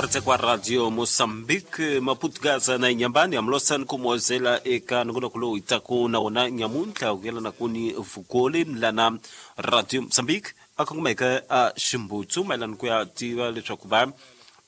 Kuratsa kwa Radio Mozambique, Maputo, Gaza na Inhambane, amlosani kumozela eka nongonoko lowu hi taku na wona nyamuntlha ku yelana kuni vukoli lana Radio Mozambique a kongomeke a ximbutsu mayelana ku ya tiva leswaku va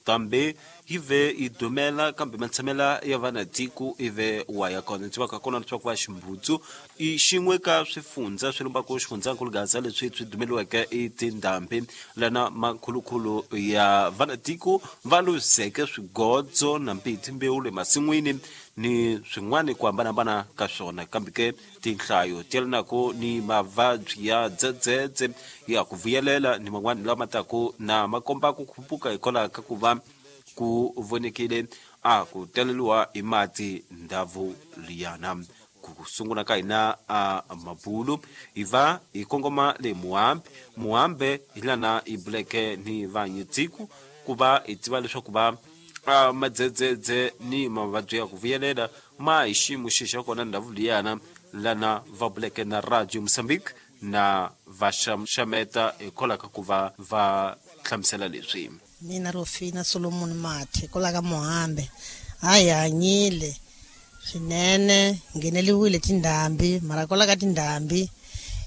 kambe yi ve yi dumela kambe matshamela ya vana tiko ive wa ya kona. Tivaka kona leswaku va ximbutsu i xin'we ka swifundza swi lombaka xifundzankulu Gaza leswi swi dumeliweke i tindhambi lana makhulukhulu ya vana tiko va luzeke swigodzo na mbiti mbewu le masin'wini ni swin'wana ku hambanahambana ka swona. Kambe ke tinhlayo ti yelanaka ni mavabyi ya dzedzedze ya ku vuyelela ni man'wana lama taku na ma komba ku khuphuka hikwalaho ka ku va ku vonekile a ku taleliwa hi mati ndhavu liyana. Ku sungula ka hina a mabulu hi va hi kongoma le Muhambe. Muhambe hi lana hi buleke ni vanyitiku ku va hi tiva leswaku va madzedzedze ni mavabyi ya ku vuyelela ma hi xiyimo xi xa kona ndhavu liyana lana va buleke na Radio Mozambique na va xameta hikwalaho ka ku va va hlamusela leswi. Mina Rofina Solomon Mathe kwala ka Muhambe, a hi hanyile swinene, ngheneliwile tindhambi, mara kwala ka tindhambi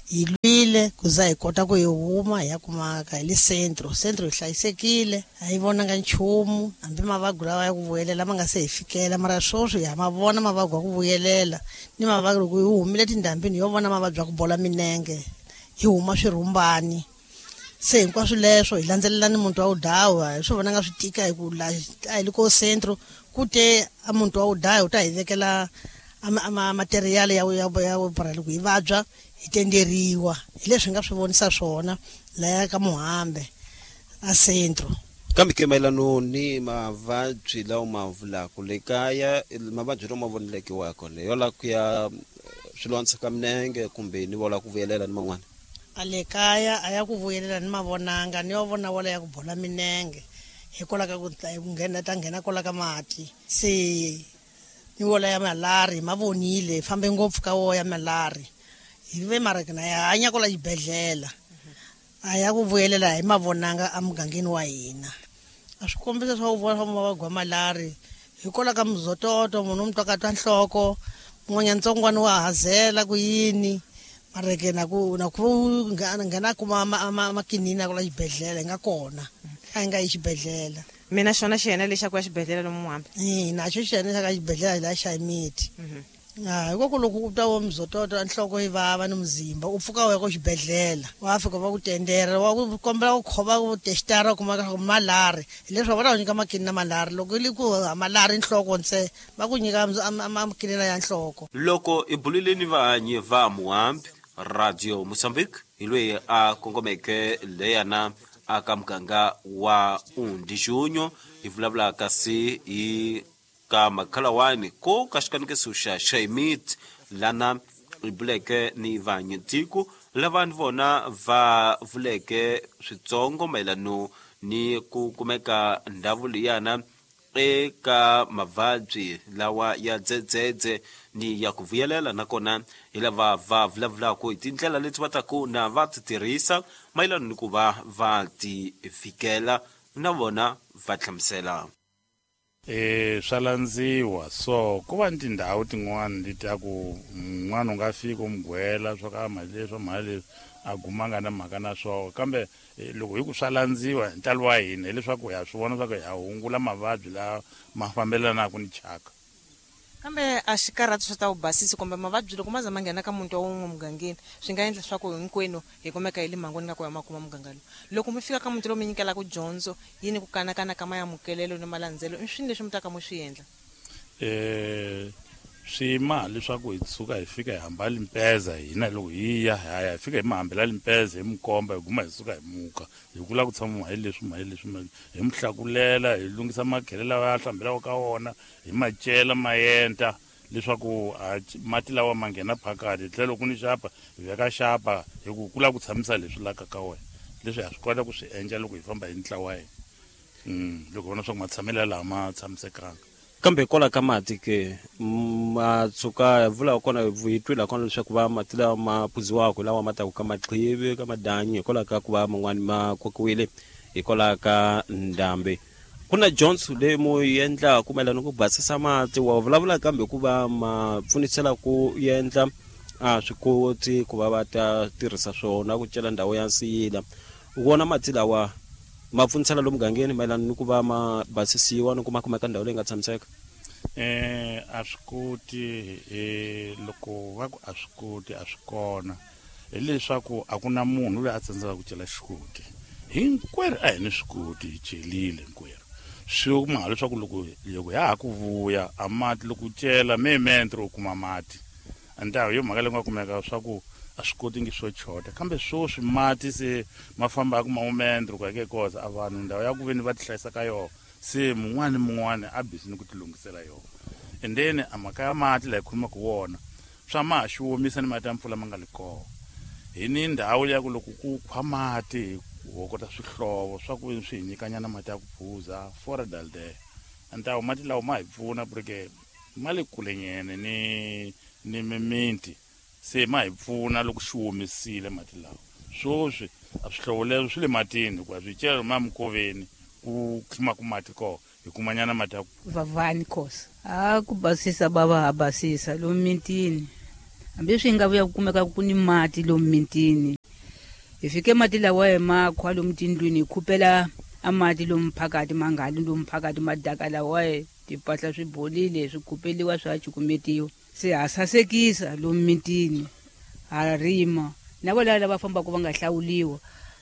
hi lwile ku za hi kota ku hi huma hi ya kumaka hi le centro. Centro hi hlayisekile, a hi vonanga nchumu, hambi mavabyi lawa ya ku vuyelela ma nga se hi fikela, mara sweswi ha ma vona mavabyi ya ku vuyelela ni mavabyi. Loko hi humile tindhambini yo vona mavabyi ya ku bola minenge, hi huma swirhumbani. Se hinkwaswo leswo hi landzelela ni muntu wa wudawa, hi swi vonanga swi tika hi ku la a hi le ko centro ku te a muntu wa wudawa u ta hi vekela material ya ya ya loko hi vabya hi tenderiwa. Hi leswi hi nga swi vonisa swona laya ka Muhambe a centro. Kambe ke mayelano ni mavabyi lawa ma vulaka le kaya, mavabyi lawa ma voneleke wa kona yo la ku ya swilondza ka minenge kumbe ni vola ku vuyelela ni man'wana? A le kaya a ya ku vuyelela ni mavonanga, ni yo vona wala ya ku bola minenge hikwalaho ka ku nghena ta nghena kwala ka mati. Se ni wola ya malari ma vonile, fambe ngopfu ka wo ya malari hi ve mara na ya hanya kwala xibedhlele a ya ku vuyelela hi mavonanga emugangeni wa hina. A swi kombisa swa ku vona swa mavabyi wa malari hikwalaho ka muzototo, munhu u mu twa ka twa nhloko, mun'wanyana ntsongwana wa hazela ku yini, mara ke na ku na ku nghena kuma makinini kwala xibedhlele hi nga kona, a hi nga yi xibedhlele. Mina xona xiyena lexi xa ku ya xibedhlele lomu Muhambe? Ina, xo xiyena xa ka xibedhlele la xa miti. Hikoku loko u twa wo muzototo nhloko yi vava ni muzimba, u pfuka u ya ko xibedhlele, wa fika va ku tendera, wa ku kombela ku khova ku testara, u kuma leswaku malari hileswi va ta ku nyika makini na malari. Loko yi li ku malari nhloko ntse va ku nyika makinina ya nhloko. Loko hi bulile ni vahanyi va Muhambe, Radio Mozambique hi loyi a kongomeke leyana aka muganga wa Undijunyo, hi vulavula kasi hi ka makhalawani ko ka xikanekiso xa Xaimit lana hi buleke ni vanyitiko lava ni vona va vuleke switsongo mayelano ni ku kumeka ndhawu liyana eka mavabyi lawa ya dzedzedze ni ya ku vuyelela. Nakona hi lava va vulavulaka hi tindlela leti va taku na va ti tirhisa mayelana ni ku va va ti fikela, na vona va hlamusela. Swa landziwa so ku va ni tindhawu tin'wana leti a ku un'wana u nga fika u mugwela swa ka mali leswi mali leswi a guma nga na mhaka na swona, kambe loko hi ku swa landziwa hi ntalo wa hina hileswaku ha swi vona swa ku ha hungula mavabyi lawa ma fambelanaka ni chaka. Kambe a xi karhati swa ta vubasisi kumbe mavabyi loko ma za ma nghena ka muti wa wun'we mugangeni, swi nga endla swa ku hinkwenu hi kumeka hi le mhangwini ka ku ya makuma muganga lowu. Loko mi fika ka muti lowu mi nyikelaka dyondzo yini ku kanakana ka mayamukelelo ni malandzelo, i swini leswi mi taka mi swi endla? Swi ma leswaku hi suka hi fika hi hamba limpeza hina loko hi ya hi ya hi fika hi mi hambela limpeza hi mi komba hi guma hi suka hi muka hi kula ku tshama hi leswi mhai leswi hi mi hlakulela hi lunghisa makhele lawa ya hlambelaka ka wona hi macela maenta leswaku mati lawa ma nghena phakati tlhelo loko ni xapa hi veka xapa hi ku kula ku tshamisa leswi laka ka wena leswi ha swi kota ku swi endla loko hi famba hi ntlawa hina loko vona swa ku matshamelo laha ma tshamisekanga. Kambe kwala ka mati ke ma tshuka vula kona hi twila kona leswaku va mati lawa ma phuziwaka lawa ma taku ka maqhivi ka madanyi hikwalaho ka ku va man'wani ma kokiwile hikwalaho ka ndhambi. Ku na dyondzo leyi mu yi endlaku mayelana ku basisa mati, wa vulavula kambe ku va ma pfunisela ku endla a swi koti ku va va ta tirhisa swona ku cela ndhawu ya nsiyila. Wona mati lawa ma pfunisela lomu mugangeni mayelana ni ku va ma basisiwa ni ku ma kumeka ndhawu leyi nga tshamiseka? A swi koti, loko va ku a swi koti a swi kona, hileswaku a ku na munhu loyi a tsandzekaka ku cela xikoti. Hinkwerhu a hi ni swikoti, hi celile hinkwerhu. Swi kuma leswaku loko ya ha ku vuya a mati, loko u cela mementro u kuma mati. Antawu yo mhaka leyi nga kumeka swa ku a swi koti ngi swo chota, kambe swoswi mati se ma fambaka maumendro ku ya ke koza a vanhu ndhawu ya ku veni va ti hlayisa ka yona, se mun'wana ni mun'wana a busy ni ku ti lunghisela yona. And then a mhaka ya mati laha hi khulumaka wona, swa ma ha xi omisa ni mati ya mpfula ma nga li kona. Hi ni ndhawu ya ku loko ku khwa mati hi hokota swihlovo swa ku swi hi nyikanyana mati ya ku phuza fora dalde. Antawu mati lawa ma hi pfuna porque ma le kulenyene ni mimiti, se ma hi pfuna loko xi omisile mati lawa. Swoswi a swihlovo leswo swi le matini, hikuva swi cela ma mikoveni ku khimaka mati kona, hi kumanyana mati ya ku Vavani Khosa. A ku basisa bava ha basisa lomu mitini, hambi swi nga vuya ku kumeka ku ni mati lomu mitini. Hi fike mati lawa hi ma khwa lomu tindlwini, hi khupela a mati lomu phakati, ma nga li lomu phakati, madaka lawa timpahla swi bolile, swi khupeliwa swa cukumetiwa. Se ha sasekisa lomu mitini, ha rima. Na vo lava lava fambaka va nga hlawuliwa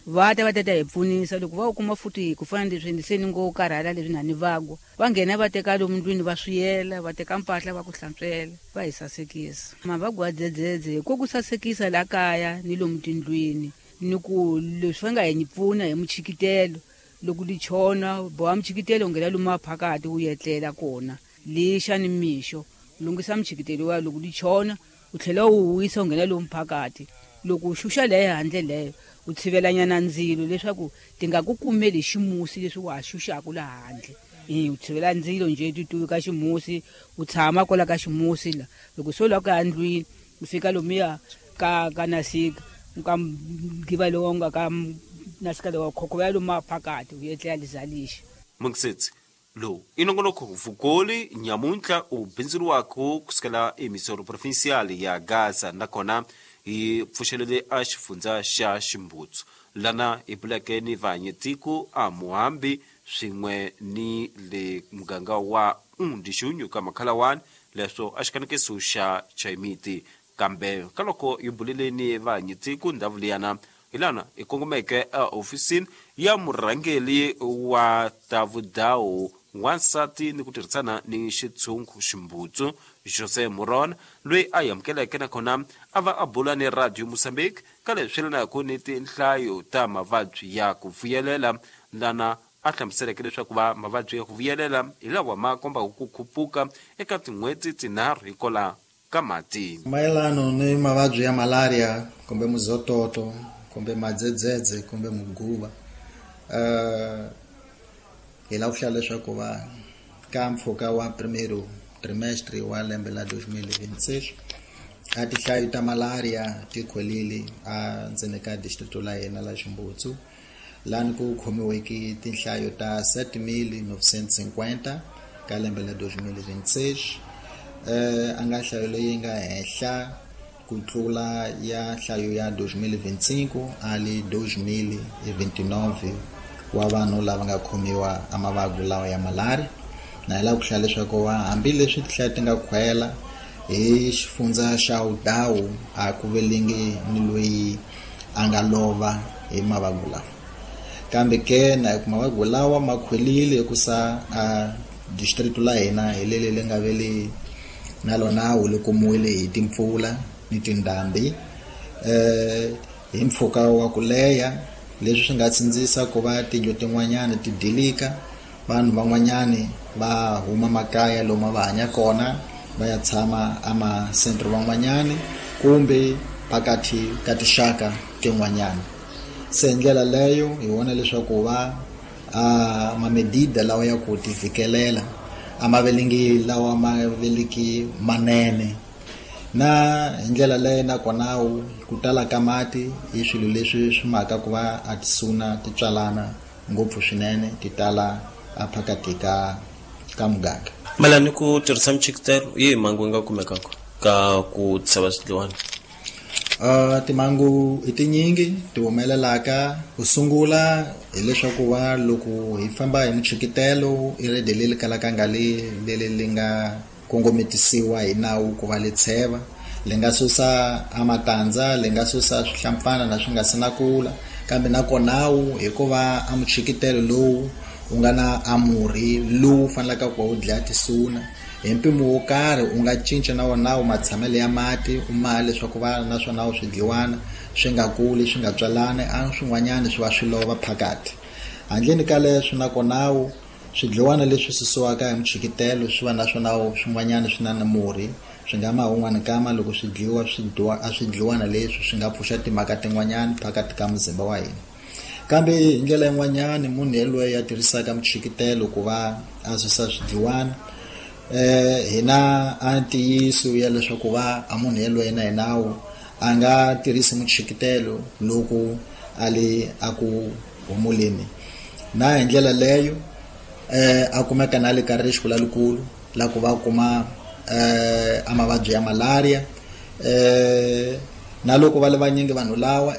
va ta va ta ta hi pfunisa loko va kuma futhi ku fana leswi se ni ngo karhala leswi na ni vagwa, va nghena va teka lomu ndlwini va swiyela, va teka mpahla va ku hlantswela, va hi sasekisa. Mavagwa dzedzedze ko ku sasekisa la kaya ni lomu tindlwini, ni ku leswi va nga hi pfuna hi muchikitelo. Loko li chona boha muchikitelo nghena lomu maphakati wu etlela kona, lixa ni mixo lunghisa muchikitelo wa loko li chona u tlhela u wisa u nghena lomu phakati. Loko u xuxa leyo handle leyo u tshivelanyana ndzilo leswaku ti nga ku kumeli ximusi leswi wa ha xuxaka laha handle. U tshivela ndzilo nje ti tuvi ka ximusi, u tshama kwala ka ximusi la. Loko se u lava ku ya ndlwini, u fika lomuya ka nasika, ka ngiva lowu nga ka nasika lowa khokhovela lomu maphakati, u etlela lizalixa. Mungisetsi lowu i nongonoko Vukoli nyamuntlha u bindzuriwaka kusukela emisoro provincial ya Gaza, nakona hi pfuxelele a xifundza xa Ximbutsu lana hi buleke ni vahanyetiko a Muhambi swin'we ni le muganga wa Undixunyu ka Makhalawani, leswo a xikanekiso xa Chaimiti. Kambe ka loko hi bulile ni vahanyetiko ndhawu liyana, hi lana hi kongomeke ehofisini ya murhangeri wa ta vudawu wansati ni ku tirhisana ni xitshungu Ximbutsu Jose Muron, loyi a amukeleke nakona a va a bula ni Radio Mozambique ka leswi yelanaka ni tinhlayo ta mavabyi ya ku vuyelela, lana a hlamuseleke leswaku va mavabyi ya ku vuyelela hi lawa ma kombaka ku khupuka eka tin'hweti tinharhu hikola ka mati. Mayelano ni mavabyi ya malaria kumbe muzototo kumbe madzedzedze kumbe muguva, hi lava ku hlaya leswaku va ka mpfhuka wa primeiro trimestre wa lembe la 2026 a tinhlayo ta malaria ti khwelile a ndzeni ka distrito la hina la Ximbutsu, lani ku khomiweke tinhlayo ta 7950 ka lembe la 2026, a nga nhlayo leyi nga henhla ku tlula ya nhlayo ya 2025 ali 2029 wa vanhu lava nga khomiwa a mavabyi lawa ya malaria. Na hi lava ku hlaya leswaku va hambileswi tinhlayo ti nga khwela hi xifundza xa Udawu, a ku velingi ni loyi a nga lova hi mavabyi lawa, kambe ke na ku mavabyi lawa ma khwelile hikusa a district la hina hi leli li nga veli na lona wu li kumiwile hi timpfula ni tindhambi hi mpfhuka wa ku leha, leswi swi nga tsindzisa ku va tindlu tin'wanyana ti dilika, vanhu van'wanyani va huma makaya lomu va hanya kona va ya tshama amasentro van'wanyani kumbe phakathi ka tinxaka tin'wanyana. Se hi ndlela leyo hi vona leswaku va a mamedida lawa ya ku tivhikelela a ma velingi lawa ma veliki manene, na hi ndlela leyo nakona ku tala ka mati i swilo leswi swi maka ku va a tisuna ti tswalana ngopfu swinene, ti tala a phakati ka muganga. Malani ku tirhisa michikitelo yi mhangu yi nga kumekaka ka ku tsheva swidliwana? Timhangu i tinyingi ti humelelaka. Ku sungula hileswaku va loko hi famba hi muchikitelo i rede leri kalaka nga leri li nga kongometisiwa hi nawu ku va li tsheva, li nga susa a matandza, li nga susa swihlampfana na swi nga si na kula, kambe nakonawu hikuva a muchikitelo lowu u nga na a murhi lowu fanelaka ku va wu dlaya tisuna hi mpimo wo karhi, u nga cinca na wona wu matshamelo ya mati u ma leswaku va naswona swidliwana swi nga kuli swi nga tswalani, a swin'wanyana swi va swi lova phakati. Handleni ka leswo nakonawu swidliwana leswi susiwaka hi muchikitelo swi va naswona swin'wanyana swi na murhi, swi nga ma un'wana kama loko swi dliwa a swidliwana leswi swi nga pfuxa timhaka tin'wanyana phakati ka muzimba wa hina. Kambe hi ndlela yin'wanyana munhu yelweyo ya tirhisaka muchikitelo ku va a susa swidliwana, hina a ntiyiso ya leswaku va a munhu yelweyo na hi nawu a nga tirhisi muchikitelo loko a le a ku humuleni, na hi ndlela leyo a kumeka na le ka risiko lalikulu la ku va kuma a mavabyi ya malaria, na loko va le vanyingi vanhu lawa.